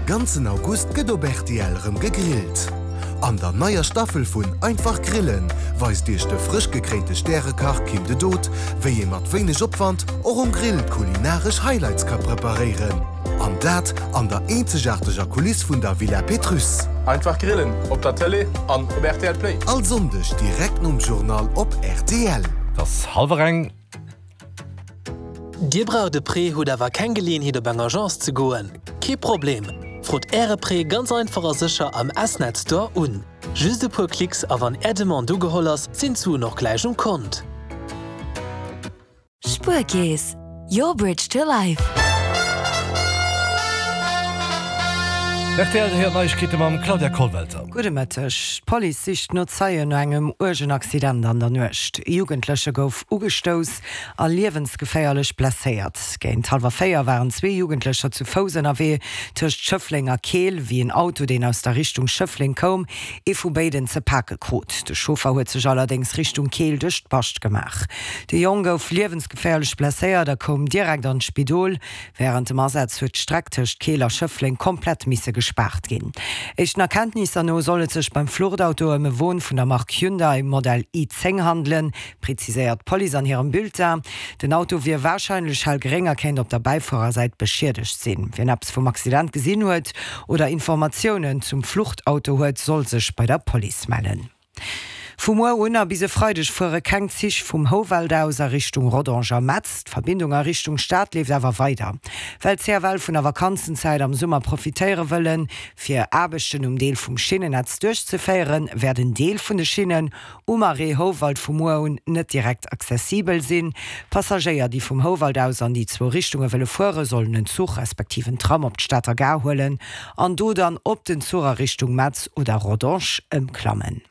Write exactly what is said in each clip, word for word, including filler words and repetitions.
ganzen August gëtt op rtl rëm gegrillt. An der neier Staffel vun Einfach Grillen weist iech de frësch gekréinte Stärekach Kim de Dood, wéi ee mat wéineg Opwand och um Grill kulinaresch Highlights ka preparéieren. An dat an der eenzegaarteger Kuliss vun der Villa Pétrusse. Einfach Grillen op der Tëlee an op rtl Play. All Sonndeg direkt nom Journal op rtl. Et ass hallwer eng. Dir braucht e Prêt, hutt awer keng Geleeënheet op eng Agence ze goen? Kee Problem! Frot Äre Prêt ganz einfach a sécher am S-Net Store un. Just e puer Klicks a wann Är Demande ugeholl ass, sinn d'Suen och gläich um Kont. Spuerkeess, your bridge to life. Rtl, Dir héiert Neiegkeete mam Claudia Kollwelter. Gudde Mëtteg. D'Police sicht no Zeien no engem uergen Accident an der Nuecht. E Jugendleche gouf ugestouss a liewensgeféierlech blesséiert. Géint hallwer véier waren zwee Jugendlecher zu Fouss ënnerwee tëscht Schëffleng a Keel, wéi en Auto, deen aus der Richtung Schëffleng koum, ee vu béiden ze pake krut. De Chauffer huet sech allerdéngs Richtung Keel duerch d'Bascht gemaach. De Jong gouf liewensgeféierlech blesséiert a koum direkt an d'Spidol. Wärend dem Asaz huet d'Streck tëscht Keel a Schëffleng komplett misse gespaart ginn. Éischten Erkenntnisser no soll et sech beim Fluchtauto ëm e Won vun der Mark Hyundai Modell i zéng handelen, preziséiert d'Police an hirem Bulletin. Den Auto wier warscheinlech hellgréng a kéint op der Bäifuerersäit beschiedegt sinn. Wien eppes vum Accident gesinn huet oder Informatiounen zum Fluchtauto huet, soll sech bei der Police mellen. Vu muer un a bis e Freideg fuere keng Zich vum Houwald aus a Richtung Rodange a Metz. D'Verbindung a Richtung Stad leeft awer weider. Well d'CFL vun der Vakanzenzäit am Summer profitéiere wëllen, fir Aarbechten um Deel vum Schinnennetz duerchzeféieren, wäert en Deel vun de Schinnen um Arrêt Houwald vu muer un net direkt accessibel sinn. Passagéier, déi vum Houwald aus an déi zwou Richtunge wëlle fueren, sollen en Zuch respektiv en Tram op d'Stater Gare huelen an do dann op den Zuch a Richtung Metz oder Rodange ëmklammen.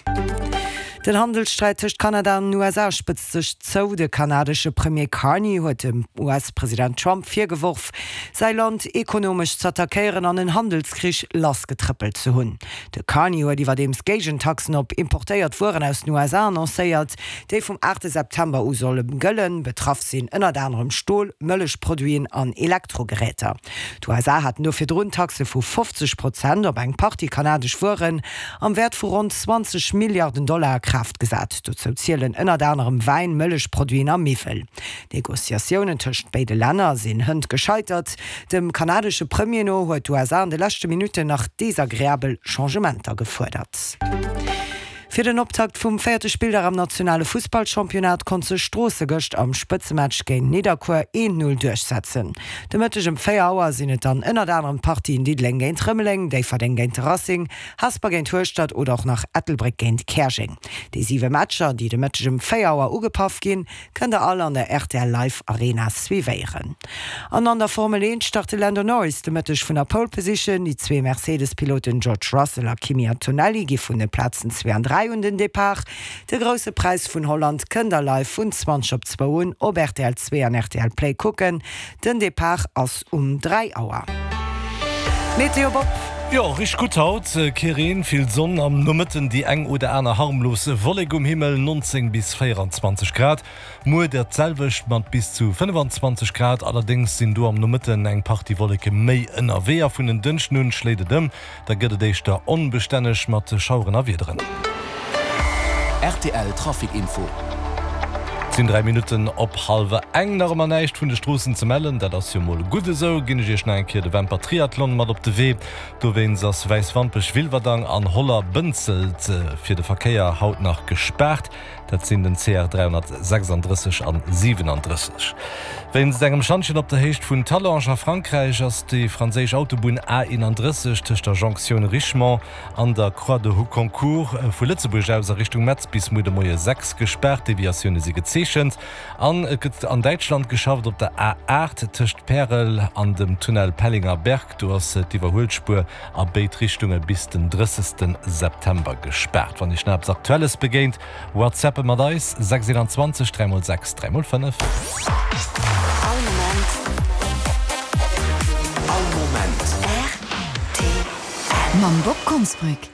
Den Handelssträit tëscht Kanada an den U S A spëtzt sech zou. De kanadesche Premier Carney huet dem U S-President Trump virgeworf, säi Land ekonomesch z'attackéieren an en Handelskrich lassgetrëppelt ze hunn. De Carney huet iwwerdeems Géigentaxen op importéiert Wueren aus den U S A annoncéiert, déi vum aachte September u solle gëllen. Betraff sinn ënnert anerem Stol, Mëllechproduiten an Elektrogeräter. D'U S A haten do virdrun Taxe vu fofzeg Prozent op eng Partie kanadesch Wueren am Wäert vu ronn zwanzeg Milliarden Dollar a Kraaft gesat. Dozou zielen ënnert anerem Wäin, Mëllechproduiten a Miwwel. D'Negociatiounen tëscht béide Länner sinn hënt gescheitert. Dem kanadesche Premier no huet d'U S A an de leschte Minutten nach desagreabel Changementer gefuerdert. Fir den Optakt vum véierte Spilldag am nationale Fussballchampionnat konnt sech Stroosse gëscht am Spëtzematch géint Nidderkuer een Null duerchsetzen. De Mëtteg ëm véier Auer sinn et dann ënnert anerem d'Partien Diddeleng géint Rëmeleng, Déifferdeng géint de Racing, Hesper géint Hueschtert oder och nach Ettelbréck géint Käerjeng. Déi siwe Matcher, déi de Mëtteg ëm véier Auer ugepaff ginn, kënnt der all an der R T L Live Arena suivéieren. An an der Formel eent start de Lando Norris de Mëtteg vun der Pole Position. Déi zwee Mercedes-Piloten George Russell a Kimi Antonelli gi vun de Plazen zwee an dräi un den Depart. De grousse Präis vun Holland kënnt der live vun zwanzeg op zwou un op R T L zwee an R T L Play kucken. Den Depart ass um dräi Auer. Meteo Bob. Jo, richteg gutt haut. Kee Reen, vill Sonn, am Nomëtten déi eng oder aner harmlos Wollek um Himmel, neunzéng bis véieranzwanzeg Grad. Muer dat selwecht mat bis zu fënnefanzwanzeg Grad, allerdéngs sinn do am Nomëtten eng Partie Wolleke méi ënnerwee a vun den Dënschden un schléit et ëm. Da gëtt et éischter onbestänneg mat Schaueren a Wiederen. R T L Trafic Info. Sinn dräi Minutten op hallwer eng, nach ëmmer näischt vun de Stroossen ze mellen. Dat ass jo mol gutt esou. Ginn ech iech nach eng Kéier de Wemper Triathlon mat op de Wee. Dowéinst ass Wäiswampech, Wilwerdang an Holler-Bënzelt fir de Verkéier haut nach gespaart. Dat sinn den C R dräihonnertsechsunddrësseg an siewenunddrësseg. Wéinst engem Schantjen op der Héicht vun Talange a Frankräich ass déi franséisch Autobunn A eenunddrësseg tëscht der Jonktioun Richemont an der Croix de Houconcourt vu Lëtzebuerg aus a Richtung Metz bis muer de Moie sechs gespaart. Deviatioune si gezeechent. An et gëtt an Däitschland geschafft op der A aacht tëscht Pärel an dem Tunnel Pellinger Berg. Do ass d'Iwwerhuelspuer a béid Richtunge bis den drëssegsten September gespaart. Wann iech nach eppes Aktuelles begéint, WhatsAppe mat eis sechs eenundzwanzeg dräi mol sechs dräi mol fënnef. All Moment. All Moment. R T L. Mam Bob Konsbrück.